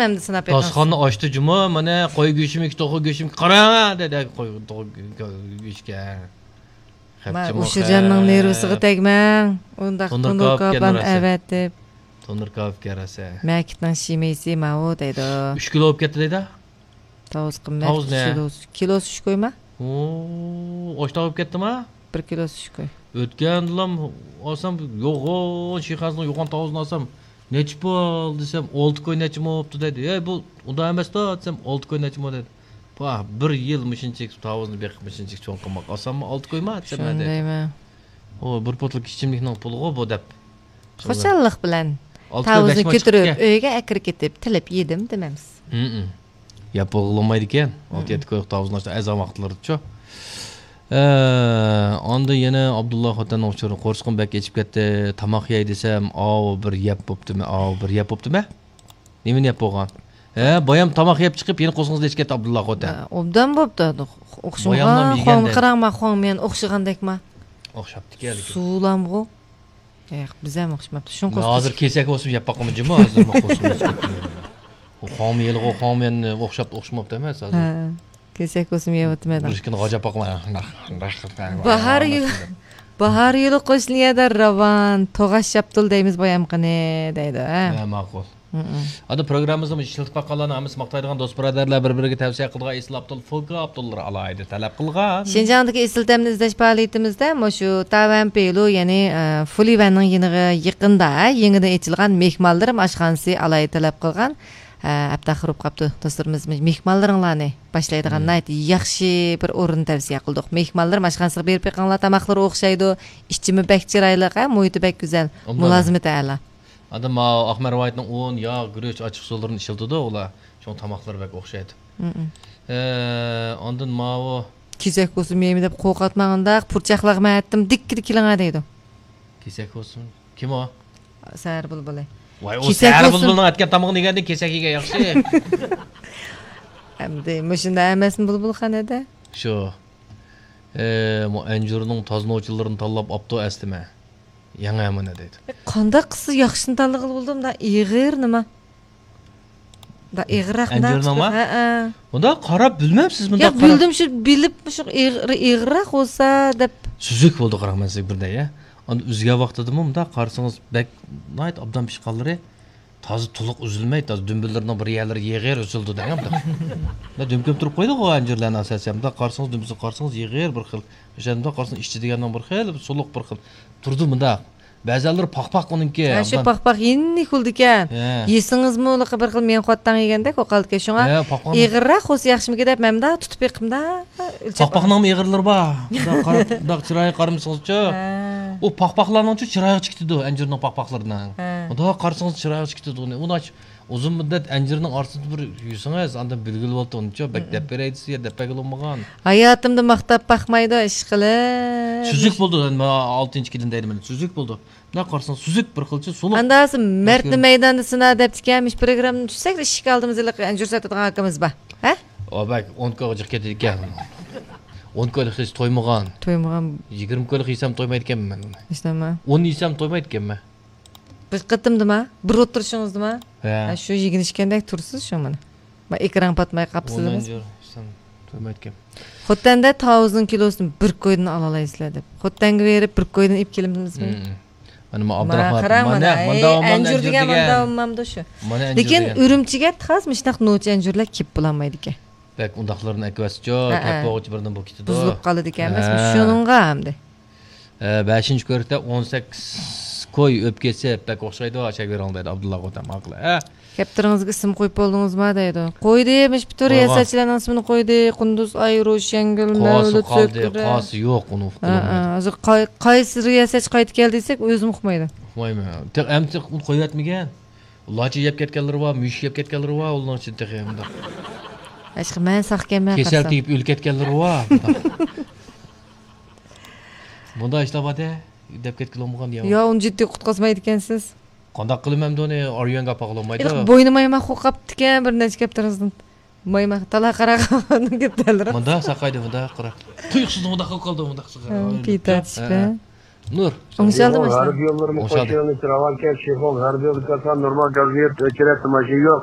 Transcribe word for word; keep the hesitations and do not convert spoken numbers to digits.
ئەمدى سىناپ بېقىڭ. داستىخاننى ئاچتى جۇمۇ، مانا قوي گۆشىمۇ، ئىككى توخۇ گۆشۈم، قاراڭ دېدى، قوي، توخۇ گۆ-، گۆشكە. مانا ئۇشۇرجاننىڭ نېرۋىسىغا تەگمەڭ. ئۇنداق تونۇر كاۋاپلارنى ئەۋەتىپ. تونۇر كاۋاپكەن راسا. مەكىتنىڭ شىمىسى ماۋۇ دەيدۇ. ئۈچ كىلو بولۇپ كەتتى دەيدۇ. تاۋۇز قىممەت. تاۋۇز نە؟ كىلوسى، كىلوسى ئۈچ كويما؟ ئوو، ئاشتاق بولۇپ كەتتىما؟ بىر كىلوسى ئۈچ كوي. ئۆتكەندىلام ئالسام، يوغان، شىخازنىڭ يوغان تاۋۇزىنى ئالسام، نەچچە پۇل دېسەم، ئالتە كوي نەچچە مو بوپتۇ دەيدۇ. ھەي، بۇ ئۇنداق ئەمەستۇ دېسەم، ئالتە كوي نەچچە مو دەيدۇ. پاھ، بىر يىل مۇشۇنچىلىك تاۋۇزنى بېقىپ، مۇشۇنچىلىك چوڭ قىلماق ئاسانمۇ، ئالتە كويما دېسەم، شۇنى دەيمەن. ئۇ بىر پۇتلۇق ئىچىملىكنىڭ پۇلىغۇ بۇ دەپ. خۇشاللىق بىلەن تاۋۇزنى كۆتۈرۈپ، ئۆيگە ئەكىرىپ كېتىپ، تىلىپ يېدىم دېمەمسىز. يەپ بولغىلىمايدىكەن. ئالتە يەتتە كويلۇق تاۋۇزنى ئاشتا ئەزان ۋاقىتلىرىدىچۇ. ئە، ئاندىن يەنە ئابدۇللا خوتەننىڭ ئۇچۇرى، قورسىقىم بەك ئېچىپ كەتتى، تاماق يەي دېسەم، ئاۋۇ بىر يەپ بوپتىمە، ئاۋۇ بىر يەپ بوپتىمە. نېمىنى يەپ بولغان؟ ھە، بايام تاماق يەپ چىقىپ، يەنە قورسىقىڭىزنى ئېچىپ كەتتى، ئابدۇللا خوتەن. ھە، ئوبدان بوپتۇ. ئوخشىمىغان، باياملام يېگەندە. خوڭ قاراڭما، خوڭ مەن ئوخشىغاندەكما؟ ئوخشاپتىكەن لېكىن. سۇلامغۇ. ياق، بىز ھەم ئوخشىماپتۇ. شۇڭا مەن ھازىر كېسەك بولسىمۇ يەپ باقىمەن جۇمۇ، ھازىر ماقۇل سۇ ئىچىپ كەتتىم. خوڭمۇ يېلىغۇ، خوڭ مەن ئوخشاپ، ئوخشىماپتۇ ئەمەس ھازىر. ھە، كېسەك بولسىمۇ يەۋاتىمەن. بىر ئىككىنى غاجاپ باقىمەن. باھار يىلى، باھار يىلى قوشنى يەردە راۋان، توغاش شاپتۇل دەيمىز بايام قېنى دەيدۇ، ھە. ھە، ماقۇل. ئادا پروگراممىمىزدا ئىشلىتىپ باققانلارنىڭ ھەممىسى ماقتايدىغان دوست بۇرادەرلەر بىر-بىرىگە تەۋسىيە قىلىدىغان ئېسىل ئاپتول، فولكا ئاپتوللىرى ئالاھىدە تەلەپ قىلغان. شىنجاڭدىكى ئېسىل تەمنى ئىزدەش پائالىيىتىمىزدە مۇشۇ تاۋەن پېلۇ، يەنى، ئە، فۇلىۋەننىڭ يېنىغا يېقىندا، ھە، يېڭىدىن ئېچىلغان مېھمانلىرىم ئاشخانىسى ئالاھىدە تەلەپ قىلغان. ھە، ئەپتاخىر بولۇپ قاپتۇ دوستلىرىمىز، مېھمانلىرىڭلارنى باشلايدىغان ناھايىتى ياخشى بىر ئورۇننى تەۋسىيە قىلدۇق. مېھمانلىرىم ئاشخانىسىغا بېرىپ بېقىڭلار، تاماقلىرى ئوخشايدۇ، ئىچىمۇ بەك چىرايلىق، ھە، مۇھىتى بەك گۈزەل، مۇلازىمىتى ئەلا. ئاندىن ماۋۇ ئاق مەرۋايىتنىڭ ئۇن، ياغ، گۈرۈچ، ئاچچىقسۇلىرىنى ئىشلىتىدۇ ئۇلار. شۇڭا تاماقلىرى بەك ئوخشايدۇ. ئە، ئاندىن ماۋۇ. كېسەك بولسىمۇ يەيمەن دەپ قورقاتماڭ ئۇنداق، پۇرچاقلارغا مەن ئېيتتىم، دىككىدە كېلىڭە دەيدۇ. كېسەك بولسىمۇ. كىم ئۇ؟ سەھەر بۇلبۇلى. ۋاي، ئۇ سەھەر بۇلبۇلنىڭ ئەتكەن تامىقىنى يېگەندىن كېسەك يېگەن ياخشى. ئەمدى مۇشۇنداق ئەمەسمۇ بۇلبۇلخانىدا؟ شۇ. ئە، مۇ ئەنجۈرنىڭ تازا نوچىلىرىنى تاللاپ ئاپتۇ ئەسلىمە. يېڭى ھەممىنى دەيدۇ. قانداق قىلسا ياخشىنى تاللىغىلى بولىدۇ، مۇنداق ئېغىر نېمە؟ مۇنداق ئېغىرراق ئەنجۈرنىڭما؟ ھەئە. مۇنداق قاراپ بىلمەمسىز، مۇنداق ياق، قاراپ. بىلدىم، شۇ بىلىپ، شۇ ئېغىر، ئېغىرراق بولسا دەپ. سۈزۈك بولدى، قاراڭ، مەن سىزگە بىر دەي، يا. ئاندىن ئۈزگەن ۋاقتىدىمۇ مۇنداق قارىسىڭىز، بەك ناھايىتى ئوبدان پىشقانلىرى تازا تولۇق ئۈزۈلمەي، تازا دۈمبىلىرىنىڭ بىر يەرلىرى يېغىر ئۈزۈلىدۇ دەڭ. مۇنداق دۈمكۈم تۇرۇپ قويىدىغۇ ئەنجۈرلەرنى ئاساسەن. مۇنداق قارىسىڭىز، دۈمبىسىنى قارىسىڭىز يېغىر بىر خىل. ئۆشەندە قارىسىڭىز ئىچى دېگەننىڭ بىر خىل سۇلۇق بىر خىل تۇرىدۇ مۇنداق. بەزەنلىرى پاق-پاق ئۇنىڭكى. ھە، شۇ ئاندىن پاق-پاق يېنىك بولىدىكەن. ھە. يېسىڭىزمۇ ھېلىقى بىر خىل مېڭە قوتاڭ يېگەندەك بولۇپ قالىدىكەن. شۇڭا ھە، پاق-پاق. ئېغىرراق بولسا ياخشىمىكىن دەپ مەن مۇنداق تۇتۇپ بېقىمدا. پاق-پاقنىڭمۇ ئېغىرلىرى بار. مۇنداق قاراپ، مۇنداق چىرايىغا قارىمىسىڭىزچۇ. ھە. ئۇ پاق-پاقلارنىڭچۇ چىرايىغا چىقىدۇ، ئەنجۈرنىڭ پاق-پاقلىرىنىڭ. ھە. مۇنداق قارىسىڭىز چىرايىغا چىقىدۇ ئۇنى. ئۇنى ئۇزۇن مۇددەت ئەنجۈرنىڭ ئارىسىدا بىر يۈرسىڭىز، ئاندىن بىلگىلى بولىدۇ ئۇنىچۇ. بەك دەپ بېرەي دېسە، دەپ بەرگىلى بولمىغان. ھاياتىمدا ماختاپ باقمايدۇ، ئىشقىلىپ. سۈزۈك بولىدۇ، مانا ئالتىنچى كېلىن دەيدۇ مانا، سۈزۈك بولىدۇ. مۇنداق قارىساڭ سۈزۈك بىر خىلچە سۇلۇق. ئاندىن مەردنى مەيداندا سىنا دەپتىكەن، مۇشۇ پروگراممىنى چۈشسەك ئىشىك ئالدىمىزدا ھېلىقى ئەنجۈر ساتىدىغان ئاكىمىز بار. ھە؟ ئۇ بەك ئون كويغا جىق كېتىدىكەن. ئون كويلۇق يېسە تويمىغان. تويمىغان. يىگىرمە كويلۇق يېسەم تويمايدىكەنمەن مەن ئۇنى. ئىشلەمە. ئون يېسەم تويمايدىكەنمەن. بىر قېتىمدىما؟ بىر ئولتۇرۇشىڭىزدىما؟ ھە. ھە، شۇ يېگىن ئىچكەندەك تۇرىسىز شۇ مانا. ما ئېكران پاتماي قاپسىز. ئون ئەنجۈر يېسەم تويمايدىكەن. خوتەندە تاۋۇزنىڭ كىلوسىنى بىر كويدىن ئالالايسىلەر دەپ. خوتەنگە بېرىپ بىر كويدىن ئېلىپ كېلىمىزمۇ؟ ھىم. مانا ما ئابدۇراخمان قاراڭ مانا، مانا، مانا ئەي، ئەنجۈر دېگەن مانا ئوممامدۇ شۇ. لېكىن ئۈرۈمچىگە تاز مۇشۇنداق نوچى ئەنجۈرلەر كېلىپ بولالمايدىكەن. بەك ئۇنداقلىرىنى ئەكىۋەتسىچۇ، ھە، كەپ بولغۇچە بىردىن بولۇپ كېتىدۇ. بۇزۇلۇپ قالىدىكەن ئەمەسمۇ؟ ھە. شۇنىڭغا ئەمدى. ئە، بەشىنچى كۆرۈكتە ئون سەككىز كوي ئۆپكىسى بەك ئوخشايدۇ، چەكۋېرىڭ دەيدۇ ئابدۇللا خوتەن ئاقىلى. ھە؟ كەپتىرىڭىزگە ئىسىم قويۇپ بولدىڭىزما دەيدۇ. قويدى، مۇشۇ پۈتۈن رىياسەتچىلەرنىڭ ئىسمىنى قويدى. قۇندۇز ئاي، روشەنگۈل، مەۋلۇت سۆكۈرە. قاسى يوق، ئۇنى ئۇقتۇرۇلمايدۇ. ھە، ھە. ھازىر قاي-، قايسى رىياسەتچى قايتىپ كەلدى دېسەك، ئۆزىمۇ ئۇقمايدۇ. ئۇقمايمەن. تېخى ئەمدى ئۇنى قويۇۋەتمىگەن. لاچا يەپ كەتكەنلىرى بار، مۈشۈك يەپ كەتكەنلىرى بار، ئۇلارنىڭ ئىچىدە تېخى مۇنداق. ھېچقى مەن ساقكەنمەن كېسەل قارىسام. تېگىپ ئۆلۈپ كەتكەنلىرى بار. مۇنداق ئىشلار بار-دە، دەپ كەتكىلى بولمىغان يا. يا، ئۇنى جىددىي قۇتقۇزمايدىكەنسىز. قانداق قىلىمەن ئۇنى، ئاريونغا ئاپارغىلى بولمايدۇ. ھېلىقى بوينى مايماق بولۇپ قاپتىكەن، بىر نەچچە كەپتىرىڭىزدىن. مايماق، تالا قاراقالپاقنىڭ كەپتەرلىرى. مۇنداق ساقايدۇ، مۇنداق قاراق. تۇيۇقسىز مۇنداق قىلىپ قالدى، مۇنداق ساقاي. ھە، پېتى تارتىشىپ، ھە. نۇر. ئوڭشالدىمۇ ماشىنا؟ غەربىي يوللىرىمۇ ئوڭشالدى. قوشۇيالمايسىز، راۋان كەل، شىخۇ، غەربىي يولدا كەلسەڭ نورمال گاز يەپ ئۆچۈرەتتى ماشىنا يوق.